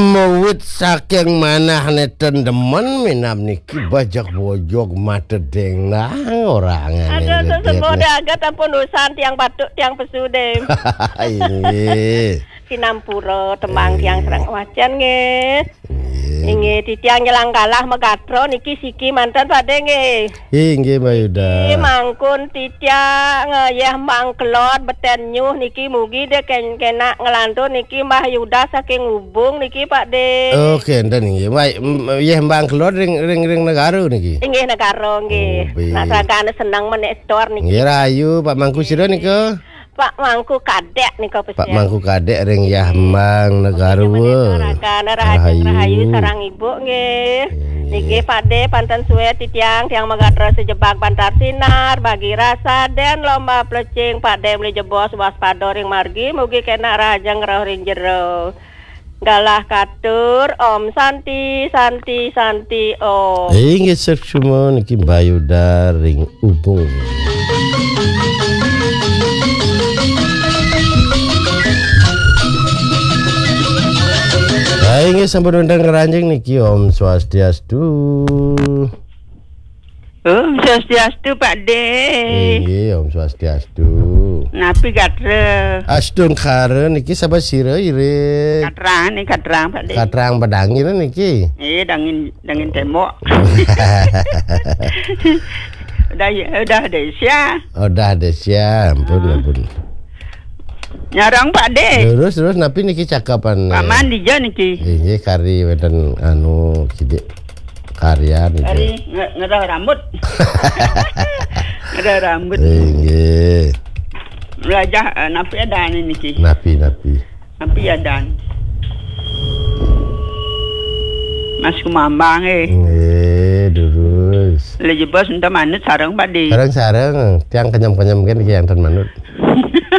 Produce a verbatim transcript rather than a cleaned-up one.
Mawit saking manah neten demen minab niki bajak bojog mata dengdang orang. Aduh, sesepuh dagat ampun usan tiang batuk, tiang pesu, Dé. Inggih. Sinampura tembang tiang serang wacan, nggih. Inggih. Inggih, titiang nyelang galah magatra niki siki manten, Pak Dé, nggih. Inggih, Mbah Yuda. Niki mangkun titiang, eh, Yah Mbang Kelod beten nyuh niki mugi dé ken-, kenak nglantur niki Mbah Yuda saking Ubung niki, Pak Dé. Oke, enten inggih. Baik, m-, Yah Mbang Kelod ring, ring, ring Negara niki. Inggih, Negara nggih. Oh, baik. Nak seragane seneng menek setor niki. Nggih, rahayu, Pak Mangku sira nika. Pak Mangku Kadek nika. Pak Mangku Kadek ring Yah Mbang Negara. Rahayu, rahayu sarang ibu nggih. Nggih. Niki Pak Dé panten suwe titiang, tiang magatra sejebak Bantar Sinar, bagi rasa den lomba plecing, Pak Dé meli jebos waspada ring margi, mugi kenak rahajeng roh ring jero. Galah katur, Om Santi, Santi, Santi, Om. Inggih, suksma niki Mbah Yuda ring Ubung. Nah, inggih sampun wonten keranjing niki, Om Swastiastu. Om Swastiastu, Pak Dé. Inggih, Om Swastiastu. Napi gatra? Astungkara niki sapa sira, Irit? Katrang niki, katrang, Pak Dé. Katrang pedangin niki. Eh, dangin, dangin tembok. Udah, ya, udah deh, sia. Udah deh, sia. Ampun, ampun. Nyarang, Pak Dé. Terus, terus napi niki cakapan? Paman dija niki? Inggih, kari wonten anu kidik karya niki. Kari nge-, ngerah rambut. Ngerah rambut. Inggih. Belajar, eh, napi ada niki? Napi, napi? Napi ada? Mas Kumambang, eh. Nggih, durus. Lha jebos enten manut sareng, Pak Dé. Sareng-sareng, tiang kenyem-kenyem kan tiang ten manut.